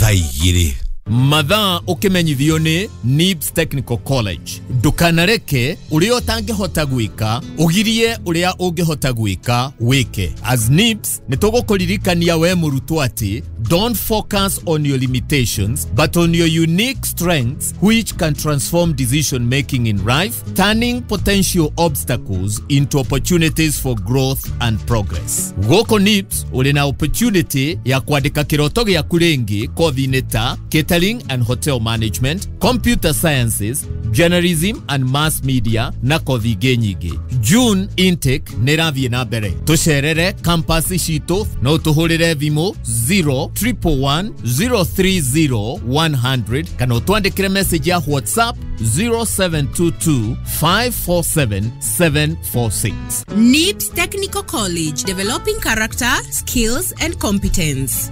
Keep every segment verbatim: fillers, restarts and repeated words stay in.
Thaa igĩrĩ. Mathaa ũkĩmenyithio nĩ N I B S Technical College. Ndũkanareke ũrĩa ũtangĩhota gwĩka ũgirie ũrĩa ũngĩhota gwĩka wĩke. As N I B S nĩ tũgũkũririkania we mũrutwo atĩ don't focus on your limitations but on your unique strengths, which can transform decision making in life, turning potential obstacles into opportunities for growth and progress. Gũkũ N I B S ũrĩ na opportunity ya kwandĩka kĩroto gĩaku rĩngĩ kothi-inĩ ta catering and hotel management, computer sciences, journalism and mass media na kothi ingĩ nyingĩ. June intake nĩ ĩrathiĩ na mbere. Tũcerere campus citũ, no tũhũrĩre thimũ zero triple one zero three zero one hundred kana ũtwandĩkĩre message ya WhatsApp zero seven two two five four seven seven four six. N I B S Technical College, developing character, skills, and competence.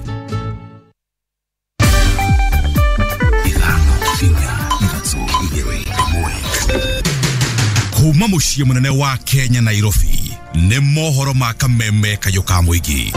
Ithano, inya, ithatũ, igĩrĩ, ĩmwe. Kuma mũciĩ mũnene wa Kenya, Nairobi, nĩ mohoro ma kameme kayũ ka mũingĩ.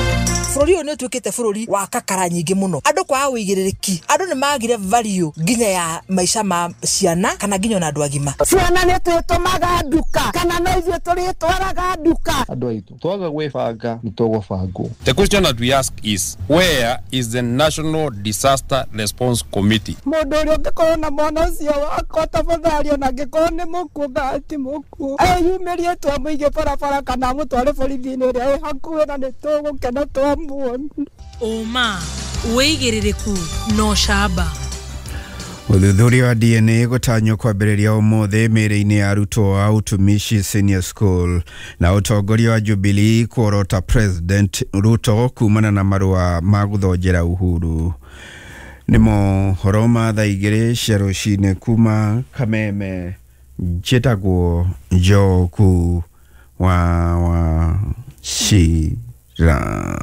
Bũrũri ũyũ nĩ ũtuĩkĩte bũrũri wa kakara nyingĩ mũno, andũ kwaga ũigĩrĩrĩki, andũ nĩ magire value nginya ya maica ma ciana kana nginya ona andũ agima. Ciana nĩ twĩtũmaga nduka kana no ithuĩ tũrĩtwaraga nduka? Andũ aitũ, twaga gwĩbanga nĩ tũgũbangwo. The question that we ask is, where is the National Disaster Response Committee? Mũndũ ũrĩa ũngĩkorwo na mwana ũcio wakwa, tafadhali, ona angĩkorwo nĩ mũkuũ kana ti mũkuũ, eyumĩrie twamũige barabara kana amũtware borithi-inĩ ĩrĩa ĩ hakuhĩ na nĩ tũgũkena twamuona. Ũma, wĩigĩrĩrĩku na ũcamba. Ũthuthuria wa D N A gũtanywo kwambĩrĩria ũmũthĩ mĩĩrĩ-inĩ ya arutwo a Utumishi Senior School, na ũtongoria wa Jubilee kuorota President Ruto kumana na marũa ma gũthonjera Uhuru. Nĩ mohoro ma thaa igĩrĩ cia rũcinĩ kuma Kameme. Njĩtagwo Njoku wa wa Cira.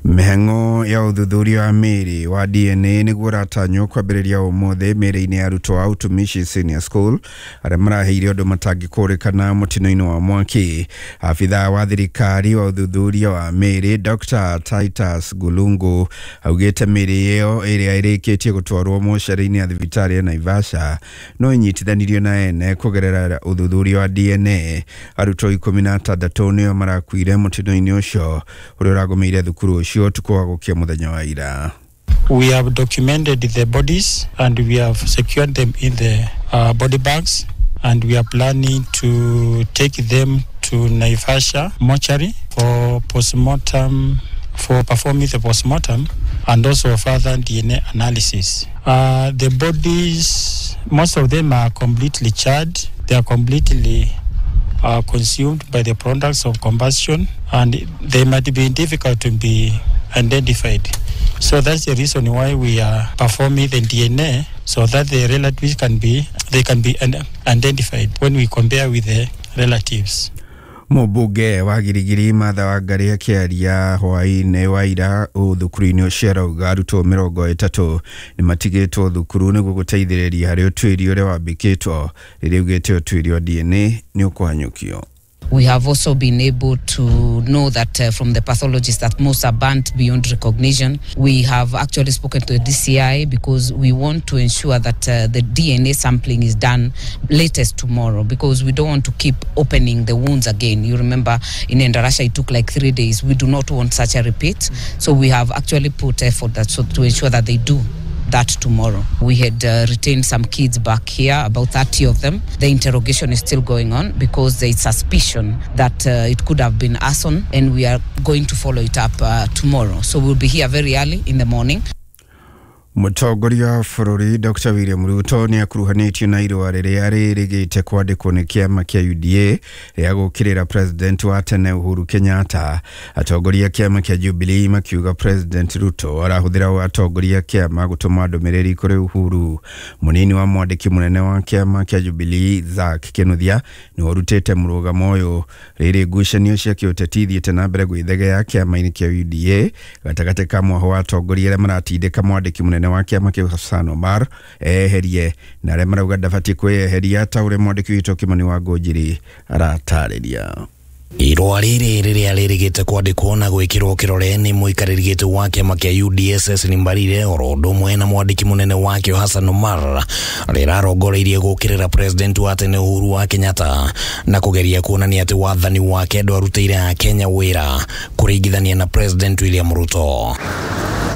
Mĩhang'o ya ũthuthuria wa mĩĩrĩ wa D N A nĩguo ũratanywo kwambĩrĩria ũmũthĩ mĩĩrĩ-inĩ ya arutwo a Utumishi Senior School arĩa maraheire ũndũ matangĩkũrĩkana mũtino-inĩ wa mwaki. Abithaa wa thirikari wa ũthuthuria wa mĩĩrĩ, Doctor Titus Gulungu, augĩte mĩĩrĩ ĩyo ĩrĩa ĩrĩkĩtie gũtwarwo mocarĩ-inĩ ya thibitarĩ ya Naivasha no ĩnyitithanirio na ene kũgerera ũthuthuria wa D N A. Arutwo ikũmi na atandatũ nĩo marakuire mũtino-inĩ ũcio ũrĩa ũragũmĩire thukuru ũcio ũtukũ wa gũkia mũthenya wa ira. We have documented the bodies and we have secured them in the uh, body bags, and we are planning to take them to Naivasha mortuary for postmortem, for performing the postmortem and also further D N A analysis. Uh, the bodies, most of them are completely charred. They are completely uh, consumed by the products of combustion, and they might be difficult to be identified. So that's the reason why we are performing the D N A, so that the relatives can be they can be identified when we compare with the relatives. Mũmbunge wa Girigiri Martha Wangari akĩaria hwaĩ-inĩ wa ira thukuru-inĩ ũcio arauga arutwo mĩrongo ĩtatũ nĩ matigĩtwo thukuru nĩguo gũteithĩrĩria harĩ ũtuĩria ũrĩa wambĩkĩtwo, rĩrĩa augĩte ũtuĩria wa D N A nĩ ũkũhanyũkio. We have also been able to know that uh, from the pathologists that most are burnt beyond recognition. We have actually spoken to the D C I because we want to ensure that uh, the D N A sampling is done latest tomorrow, because we don't want to keep opening the wounds again. You remember in Endarasha it took like three days. We do not want such a repeat. So we have actually put effort that so to ensure that they do that tomorrow. We had uh, retained some kids back here, about thirty of them. The interrogation is still going on because there is suspicion that uh, it could have been arson, and we are going to follow it up uh, tomorrow. So we'll be here very early in the morning. Mũtongoria wa bũrũri Doctor William Ruto nĩ akuruhanĩtio na irũa rĩrĩa rĩrĩgĩte kwandĩkwo nĩ kĩama kĩa U D A rĩa gũũkĩrĩra President wa tene Uhuru Kenyatta. Atongoria a kĩama kĩa Jubilee makiuga President Ruto arahũthĩra atongoria a kĩama gũtũma ndũmĩrĩri kũrĩ Uhuru. Mũnini wa mwandĩki mũnene wa kĩama kĩa Jubilee, Zack Kinuthia, nĩwe ũrutĩte mũrũgamo ũyũ rĩrĩ ngucanio cia kĩũteti ithiĩte na mbere gwĩthegea kĩama-inĩ kĩa U D A gatagatĩ ka mwaho wa atongoria arĩa maratindĩka mwandĩki mũnene wa kĩama kĩu Hassan Omar eherie na arĩa marauga ndabatiĩ kwĩyeheria, ta ũrĩa mwandĩki witũ Kimani wa Ngũnjiri aratarĩria. Irũa rĩrĩ rĩrĩa rĩrĩgĩte kwandĩkwo na gwĩkĩrwo kĩrore nĩ mũikarĩri gĩtĩ wa kĩama kĩa U D S S Mbarire oro ũndũ ũmwe na mwandĩki mũnene wakĩo Hassan Omar rĩrarongoreirie gũkĩrĩra president wa tene Uhuru wa Kenyatta na kũgeria kuonania atĩ wathani wake ndwarutĩire Akenya wĩra kũringithania na President William Ruto.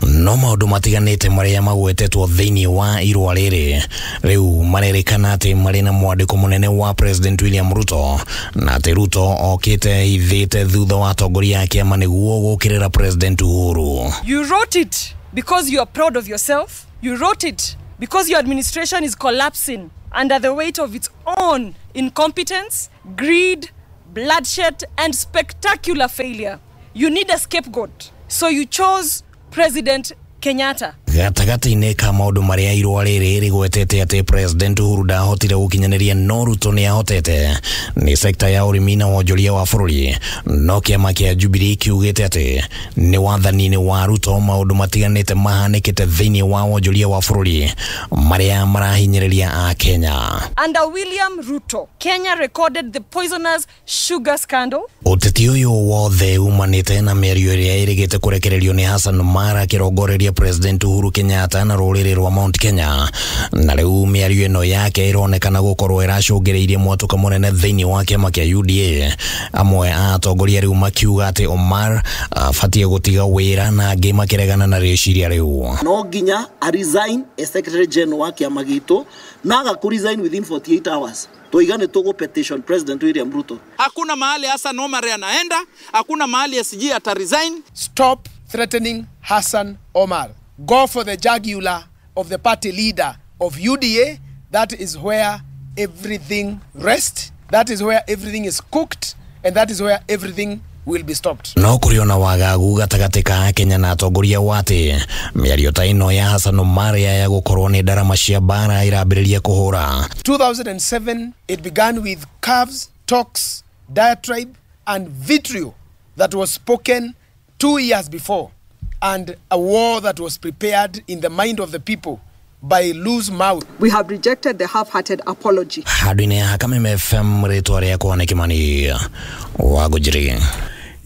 No maũndũ matiganĩte marĩa magwetetwo thĩinĩ wa irũa rĩrĩ rĩu marerĩkana atĩ marĩ na mwandĩko mũnene wa President William Ruto na atĩ Ruto okĩte ithĩte thutha wa atongoria a kĩama nĩguo gũkĩrĩra President Uhuru. You wrote it because you are proud of yourself. You wrote it because your administration is collapsing under the weight of its own incompetence, greed, bloodshed and spectacular failure. You need a scapegoat. So you chose President Kenyatta. Gatagatĩ-inĩ ka maũndũ marĩa irũa rĩrĩ rĩgwetete atĩ President Uhuru ndahotire gũkinyanĩria no Ruto nĩahotete nĩ sekta ya ũrĩmi na wonjoria wa bũrũri, no kĩama kĩa Jubilee kiugĩte atĩ nĩ wathani-inĩ wa Ruto maũndũ matiganĩte mahanĩkĩte thĩinĩ wa wonjoria wa bũrũri marĩa marahinyĩrĩria Akenya. Under William Ruto, Kenya recorded the poisonous sugar scandal. Ũteti ũyũ wothe umanĩte na mĩario ĩrĩa ĩrĩgĩte kũrekererio nĩ Hassan Omar akĩrongoreria President Uhuru Kenyatta na rũrĩrĩ rwa Mount Kenya, na rĩu mĩario ĩno yake ĩronekana gũkorwo ĩracũngĩrĩirie mwatũka mũnene thĩinĩ wa kĩama kĩa U D A. Amwe a atongoria rĩu makiuga atĩ Omar abatiĩ gũtiga wĩra na angĩ makĩregana na rĩciria rĩu. No nginya a resign as secretary general wa kĩama gitũ na aga ku resign within forty-eight hours. Tuiga nĩ tũgũ petition President William Ruto. Hakuna mahali Hassan Omar anaenda, hakuna mahali S G ata resign. Stop threatening Hassan Omar. Go for the jugular of the party leader of U D A. That is where everything rests. That is where everything is cooked. And that is where everything will be stopped. No kũrĩ ona wagagu gatagatĩ ka Kenya na atongoria wa atĩ mĩario ta ĩno ya Hassan Omar ya gũkorwo nĩ ndarama cia mbara ĩrambĩrĩria kũhũra. two thousand seven, it began with curves, talks, diatribe and vitriol that was spoken two years before, and a war that was prepared in the mind of the people by loose mouth. We have rejected the half-hearted apology. Handũ-inĩ ha Kameme F M rĩtwa rĩakwa nĩ Kimani wa Ngũnjiri.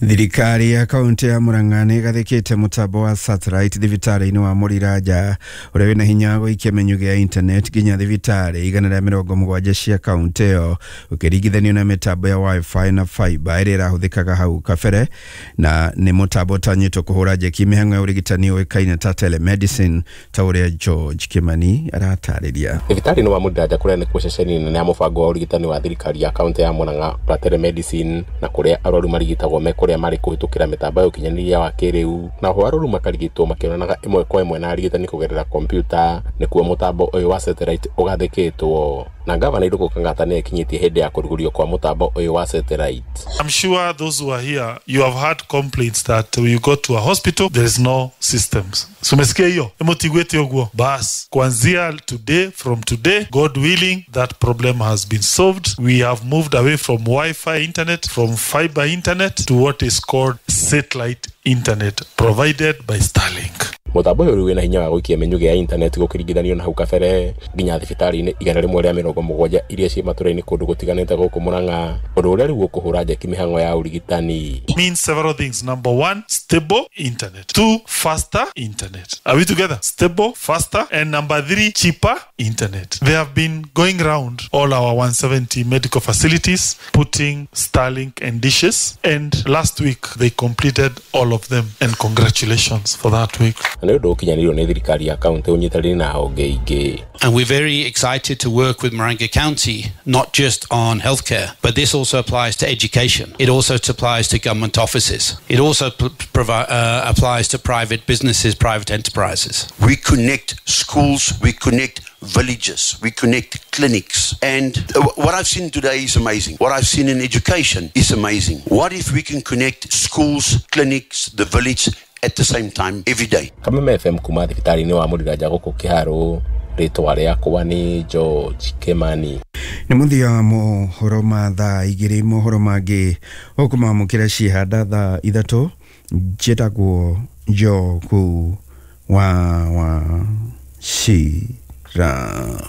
Thirikari ya kaunti ya Murang'a nĩ ĩgathĩkĩte mũtambo wa satellite thibitarĩ-inĩ wa Mũriraja ũrĩa wĩna hinya gũikia mĩnyugĩ ya internet nginya thibitarĩ igana rĩa mĩrongo mũgwanja cia kaunti ĩyo ũkĩringithanio na mĩtambo ya wifi na fiber ĩrĩa ĩrahũthĩkaga hau kabere, na nĩ mũtambo ũtanyĩtwo kũhũra njeki mĩhang'o ya ũrigitani ũĩkaine ta telemedicine ta ũrĩa George Kimani aratarĩria. Thibitarĩ-inĩ wa Mũriraja kũrĩa nĩkuo ceceni nene ya mũbango wa ũrigitani wa thirikari ya kaunti ya Murang'a wa telemedicine, na kũrĩa arwaru marigitagwo me kũrĩa marĩ kũhĩtũkĩra mĩtambo ya ũkinyanĩria wa kĩrĩu, na ho arwaru makarigitwo makĩonanaga ĩmwe kwa ĩmwe na arigitani kũgerera kompiuta. Nĩkuo mũtambo ũyũ wa satellite ũgathĩkĩtwo na gavana Irũngũ Kang'ata nĩ ekinyĩtie hĩndĩ ya kũrugũrio kwa mũtambo ũyũ wa satellite. I'm sure those who are here, you have had complaints that when you go to a hospital there is no systems. So umesikia hiyo? Mũtigwĩte ũguo. Bas, kuanzia today, from today, God willing, that problem has been solved. We have moved away from Wi-Fi internet, from fiber internet to what is called satellite internet provided by Starlink. Mũtambo ũyũ wĩna hinya wa gũikia mĩnyugĩ ya internet gũkĩringithanio na hau kabere nginya thibitarĩ-inĩ igana rĩmwe rĩa mĩrongo mũgwanja iria ciĩ matũra-inĩ kũndũ gũtiganĩte gũkũ Murang'a, ũndũ ũrĩa rĩu ũkũhũra njeki mĩhang'o ya ũrigitani. Means several things. Number one, stable internet. Two, faster internet. Are we together? Stable, faster, and number three, cheaper internet. They have been going round all our one seventy medical facilities, putting Starlink and dishes, and last week they completed all of them, and congratulations for that week. Na nĩ ũndũ ũkinyanĩirio nĩ thirikari ya kaunti ũnyitanĩire na honge ingĩ. And we're very excited to work with Murang'a County, not just on healthcare, but this also applies to education. It also applies to government offices. It also provi- uh, applies to private businesses, private enterprises. We connect schools, we connect villages, we connect clinics. And what I've seen today is amazing. What I've seen in education is amazing. What if we can connect schools, clinics, the village at the same time every day? Kameme F M kuma thibitarĩ-inĩ wa Mũriraja gũkũ Kĩharũ, rĩtwa rĩakwa nĩ George Kimani. Nĩ mũthia wa mohoro ma thaa igĩrĩ, mohoro mangĩ ũkũmamũkĩra ciĩhanda thaa ithatũ. Njĩtagwo Njogu wa wa Cira.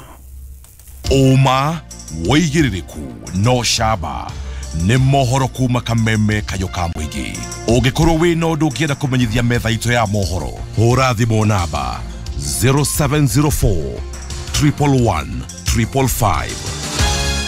Ũma wĩigĩrĩrĩku no camba Nĩ mohoro kuma kameme kayũ ka mũingĩ. Ũngĩkorwo wĩna ũndũ ũngĩenda kũmenyithia metha itũ ya mohoro, hũra thimũ namba zero seven zero four triple one triple five.